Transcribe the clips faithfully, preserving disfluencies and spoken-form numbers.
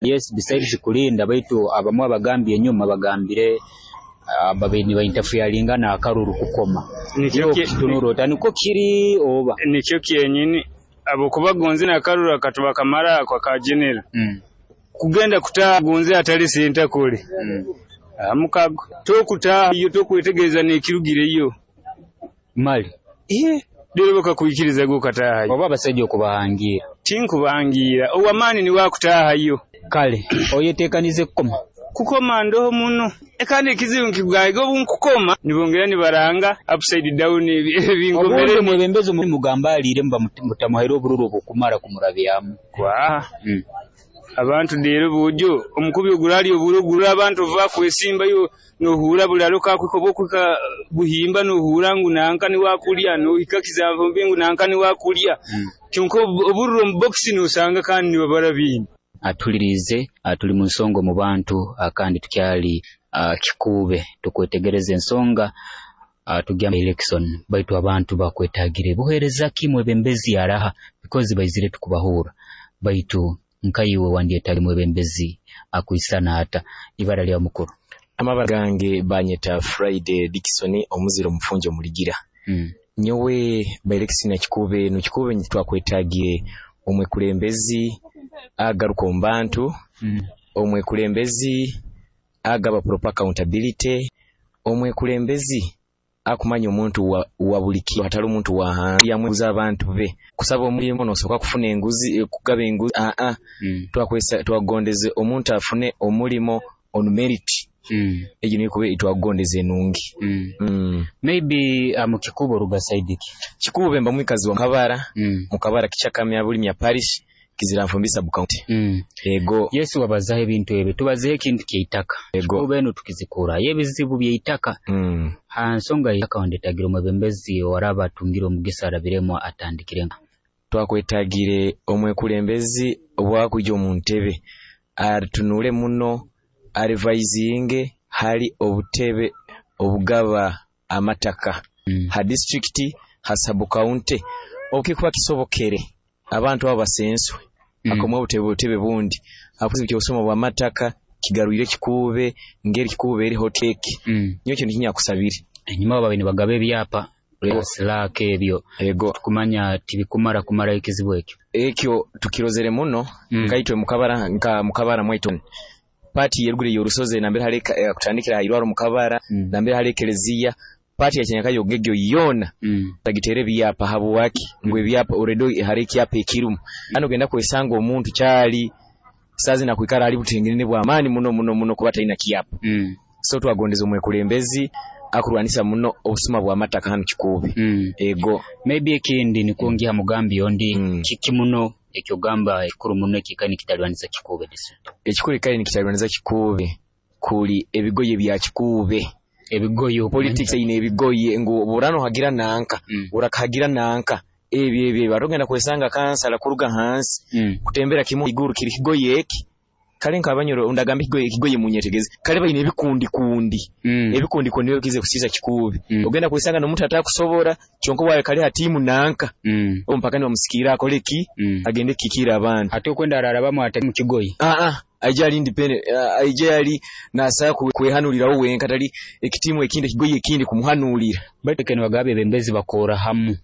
Yes, besides kulinda, baitu abamwe abagambye enyuma bagambire uh, babaire niba interferingana akaruru kukoma. Nikyo ki- Kitunura ota, nikwo kiri oba? Nikyo kyenyini, habwokuba gonze n'akaruru akatubakamara ako aka general Mm. kugenda kutaaha gonze atali sentakole Mm. mukago tokutaaha yo, tokwetegereza n'ekirugireyo. Mali Ihe, lero bakakwikiriza gwe okataahayo. Oba abasajja okubahangira? Tinkubangira, ow'amaani niwe akutaahayo. Kale oyetekanize kukoma? Kukoma ndoho muno, kandi ekizibu nkikugambe, obu nkukoma nibongera nibaranga upside down ebi- Obundi ebinkomere. Omwebembezi mugamba aliire, muba mutamuhaire obururu obukumara kumurabyamu. Kwaha. Mm. Abantu leero buujo omukubi ogurali oburo gurura abantu ova kwesimbayo, nohura bulalo kakwika oba okwika buhimba, nohura ngu nanka niwakulya, nohika Kizanfumbi ngu nanka niwakulya. Mm. Kyonka obu- obururo omu bokisi nosanga kandi nibabara bindi. Atulirize, tuli mu nsonga omu bantu, kandi tukyali ah, Kikuube, tukwetegereza ensonga tugya election, baitu abantu bakwetagire buheereza ki, mwebembezi araha, because baizire tukubahuura. Baitu nkaiwe wandyetali mwebembezi akwisana ata? Ibara lya mukuru? Amabara gange banyeta Friday Dickson, omuziro omufunjo omuligira. Mm. Nyowe by election ya Kikuube enu, Kikuube twakwetagire omwekulembezi agaruka omu bantu, Mm. omwekulembezi agaba proper accountability, omwekulembezi akumanya omuntu wa, wa buli kiro, atali omuntu wa hansi yamweguza abantu be. Kusaba omulimu nosooka kufuna enguzi, kugaba enguzi, aa. Mm. Twakwesa twakugondeze omuntu afune omulimo on merit. Mm. Egyo niyo kuba twakugondeze enungi. Mm. Mm. Maybe uh, mu Kikuube oruga side ki? Kikuube mba mwikazi wa Mukabara. Mm. Mukabara Kichakamya Bulimya Parish, Kiziranfumbi sub county. Mm. Ego. Yesu, wabazaho ebintu ebyo, tubazeho ekintu kyeitaka. Ego. Kikuube eno tukizikurayo ebizibu byeitaka. Mm. Ha nsonga y'eitaka, wandetagire omwebembezi owaraba atungire omugisa arabiremu atandikire? Twakwetagire omwekulembezi obwakwija omu ntebe atunule muno, arevisinge hali obutebe obugaba amataka Mm. ha district, ha sub county, okikuba kisobokere abantu abo basenswe, Mm. akomwe obutebe butebe bundi akuzi kyosoma bw'amataka kigarwire Kikuube ngeri Kikuube eri hotcake. Mm. Nyo kintu kinyakusabire. Enyuma babaire nibagaba ebyapa silaka ebyo. Ego. Tukumanya tibikumara kumarayo ekizibu ekyo. Ekyo tukirozere muno. Mm. Nkaitwe mukabara, nka mukabara mwaitu pati yeruguru y'orusozi nambere hali eh, kutandikira hairwaro mukabara, Mm. nambere hali ekereziya, pati ya Kyanyakayo gegyo yona Mm. tagitere ebyapa. Habwaki ngu ebyapa already hari ekyapa ekirumu hano, ogenda kwesanga omuntu kyali sazi nakwikara ali butengene bw'amaani muno muno muno kuba talina kyapa. Mm. So twagondeza omwekulembezi akurwanisa muno obusuma bw'amataka hano Kikuube. Mm. Ego. Maybe ekindi nikwongera mugambi ondi, Mm. kiki muno ekyogamba ekikuru muno ekikani kitalwanisa Kikuube district? Ekikuru ekikali nikitalwanisa Kikuube kuli ebigoye bya Kikuube. Ebigoye? Politics eine ebigoye ngu burano hagira nanka, Mm. urakahagira nanka, ebyo ebyo batogenda kwesanga kansala kuruga hansi Mm. kutembera kimu iguru kiri kigoye eki. Kale nkabanyoro ndagamba ekigoye, ekigoye munyetegeze, kale baine ebikundi kundi. Mm. Ebikundi kundi nibyo kize kusiza Kikuube. Mm. Ogenda kwesanga n'omuntu atakusobora, kyonka wawe kale hatimu nanka, Mm. ompaka nibamusikira akole ki, Mm. agende kikira abantu. Ate okwenda ararabamu ate mu kigoye? Ah ah, aija ali independent, ah, aija ali nasa kwehanulirawo wenka, tali ekitimu ekindi, ekigoye ekindi kumuhanulira. Baitu kene bagaba ebembezi bakora hamu,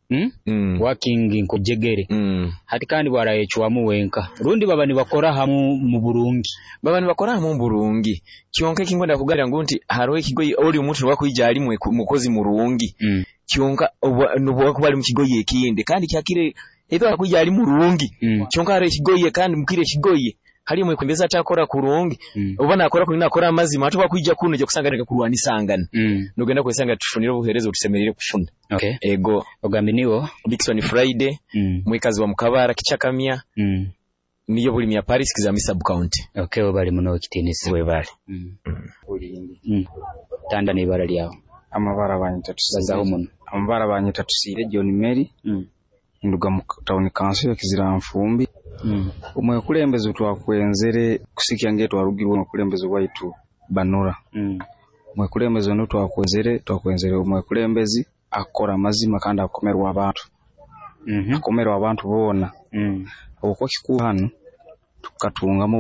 Mm? Mm. Working nkojegere. Mm. Hati kandi bwarayecwamu wenka rundi baba nibakora hamu mu burungi? Baba nibakora hamu mu burungi, kyonka ekinkwenda kugambira ngu nti hariho ekigoye oli omuntu wakwija ali mwe- mukozi murungi, Mm. kyonka nobwakuba ali mu kigoye ekindi kandi kyakire ebyo akwija ali murungi, Mm. kyonka hariho ekigoye kandi mukire ekigoye hali mwekulembezi atakora kurungi, Mm. oba nakora kurungi, nakora amazima, ate wakwija kuno ojja kusanga neka kurwanisangana, Mm. nogenda kwesanga tufunire obuheereza otusemerere kufuna. Okay. Ego. Ogambe niwo? Dickson Friday, Mm. mwikazi wa Mukabara Kichakamya, Mm. niyo Bulimya Parish, Kizambi sub county. Okay, webale muno ekitiinisa. Webale. Mm. Mm. Tanda n'ibara lyawe. Amabara banyita Bazaho Tusiire. muno. Amabara banyita Tusiire John Mary. Mm. Nduga mu town council ya Kiziranfumbi. Mm. Omwekulembezi twakwenzere kusikya nge twarugirwe omwekulembezi waitu Banura. Mm. Omwekulembezi ono twakwenzere twakwenzere omwekulembezi akora amazima kandi akomerwa abantu, Mm -hmm. akomerwa abantu boona, Mm. habwokuba Kikuube hanu tukatungamu.